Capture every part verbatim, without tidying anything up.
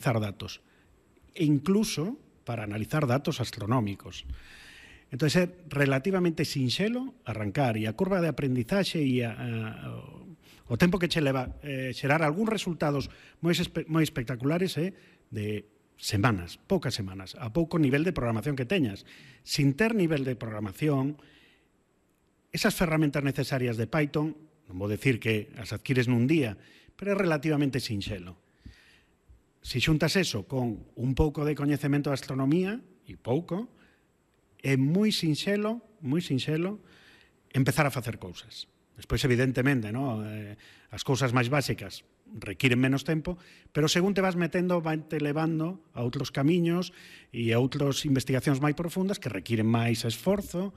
analizar datos, e incluso para analizar datos astronómicos. Entón, é relativamente sinxelo arrancar, e a curva de aprendizaxe e a, a, o tempo que che leva eh, xerar algúns resultados moi, espe moi espectaculares é eh, de semanas, poucas semanas, a pouco nivel de programación que teñas. Sin ter nivel de programación, esas ferramentas necesarias de Python, non vou decir que as adquires nun día, pero é relativamente sinxelo. Se xuntas eso con un pouco de coñecemento de astronomía, e pouco, é moi sinxelo, moi sinxelo, empezar a facer cousas. Despois, evidentemente, no? eh, as cousas máis básicas requiren menos tempo, pero según te vas metendo, vai-te levando a outros camiños e a outras investigacións máis profundas que requiren máis esforzo,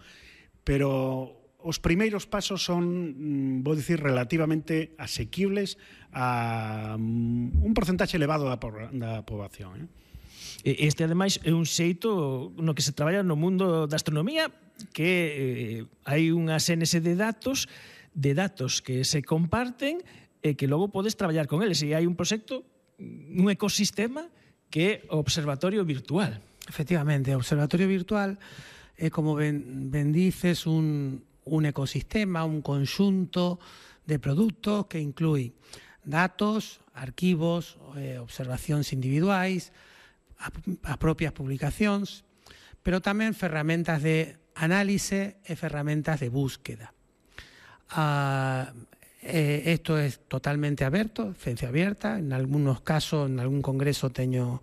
pero os primeiros pasos son, vou dicir, relativamente asequibles a un porcentaxe elevado da, da poboación, eh? Este, ademais, é un xeito no que se traballa no mundo da astronomía, que eh, hai unha sénese de datos, de datos que se comparten e que logo podes traballar con eles. E hai un proxecto, un ecosistema, que é o Observatorio Virtual. Efectivamente, o Observatorio Virtual é, como ben, ben dices, un, un ecosistema, un conxunto de produtos que inclui datos, arquivos, eh, observacións individuais, as propias publicacións, pero tamén ferramentas de análise e ferramentas de búsqueda. Uh, eh, esto es totalmente aberto, ciencia abierta. En algunos casos, en algún congreso teño,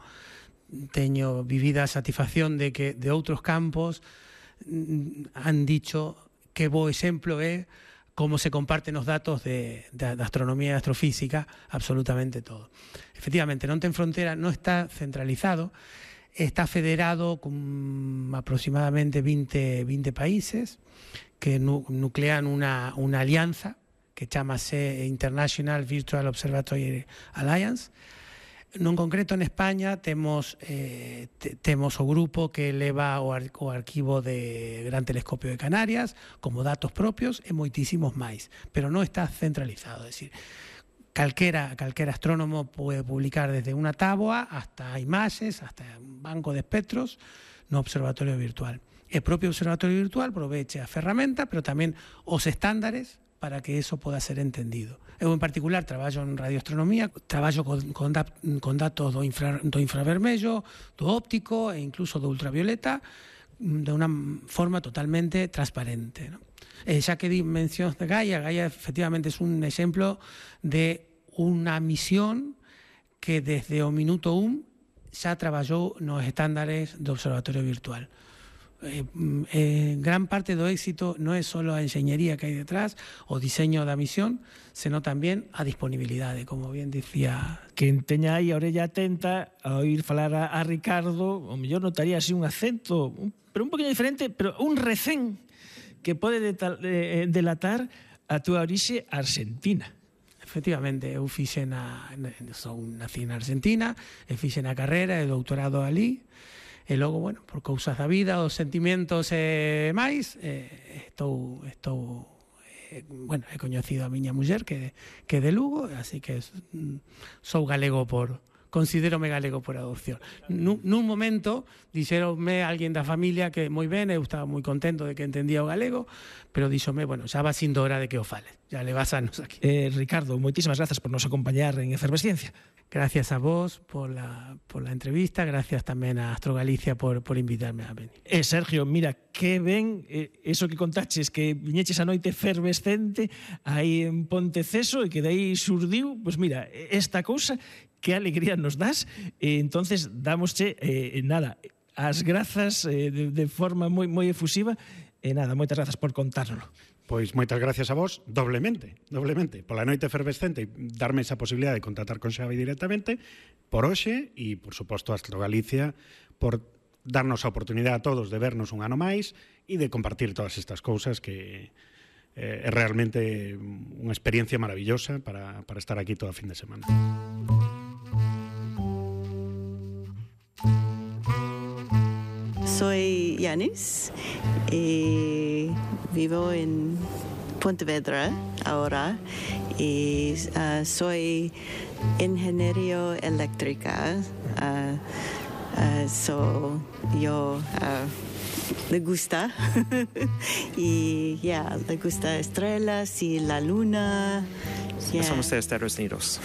teño vivida a satisfacción de que de outros campos mm, han dicho que bo exemplo é como se comparten os datos de, de, de astronomía e astrofísica, absolutamente todo. Efectivamente, non ten frontera, non está centralizado, está federado con aproximadamente veinte, veinte países que nu, nuclean una, una alianza que chamase International Virtual Observatory Alliance. Non concreto, en España temos eh, te, temos o grupo que leva o, ar, o arquivo de Gran Telescopio de Canarias como datos propios e moitísimos máis, pero non está centralizado, é dicir, calquera, calquera astrónomo pode publicar desde unha táboa hasta imaxes, hasta un banco de espectros no Observatorio Virtual. E o propio Observatorio Virtual aproveche a ferramenta, pero tamén os estándares para que eso poda ser entendido. Eu, en particular, traballo en radioastronomía, traballo con, con, da, con datos do, infra, do infravermello, do óptico e incluso do ultravioleta, de unha forma totalmente transparente, ¿no? Eh, xa que di mencións de Gaia, Gaia efectivamente é un exemplo de unha misión que desde o minuto un xa traballou nos estándares do Observatorio Virtual. Eh, eh, gran parte do éxito non é só a enxeñería que hai detrás, o diseño da misión, senón tamén a disponibilidade, como bien dicía. Quen teña aí a orella atenta a oír falar a, a Ricardo, o mellor notaría así un acento, un, pero un poquinho diferente, pero un recén que pode detal, eh, delatar a túa orixe argentina. Efectivamente, eu fixe na, son nací na Argentina, e fixe na carreira e doutorado ali. E logo, bueno, por cousas da vida, os sentimentos e máis, eh, estou, estou eh, bueno, he coñecido a miña muller que, que é de Lugo, así que sou galego por, considérome galego por adopción. Nun, nun momento, dixeronme alguén da familia que moi ben, eu estaba moi contento de que entendía o galego, pero díxome, bueno, xa va sindo hora de que o fales, ya le vas anos aquí. Eh, Ricardo, moitísimas grazas por nos acompañar en Efervesciencia. Gracias a vos por la, por la entrevista, gracias tamén a Astro Galicia por, por invitarme a venir. Eh, Sergio, mira, que ben eh, eso que contaches, que viñeches a noite efervescente aí en Ponteceso e que dai surdiu, pois pues mira, esta cousa, que alegría nos das, e entonces damosche, eh, nada, as grazas eh, de, de forma moi, moi efusiva, e nada, moitas grazas por contárnoslo. Pois moitas gracias a vos, doblemente, doblemente, pola noite efervescente e darme esa posibilidade de contactar con Xavi directamente, por hoxe, e, por suposto, a Astro Galicia, por darnos a oportunidade a todos de vernos un ano máis e de compartir todas estas cousas que eh, é realmente unha experiencia maravillosa para, para estar aquí toda fin de semana. Soy Yanis y vivo en Pontevedra ahora y uh, soy ingeniero eléctrica Uh, uh, so yo uh, le gusta y ya yeah, le gusta estrellas y la luna. Yeah. Somos de Estados Unidos.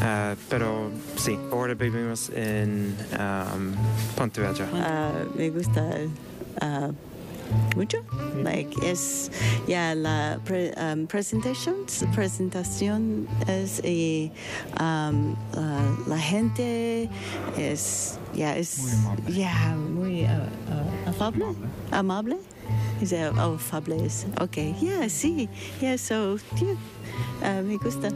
Uh, pero sí, ahora vivimos en um, Pontevedra. Uh, me gusta uh, mucho. Like es ya yeah, la pre, um, presentation, presentación es y um, uh, la gente es ya yeah, es ya yeah, muy uh, uh, afable, amable. Is that oh, afable is okay. Yeah, sí. Yeah, so yeah, uh, me gusta.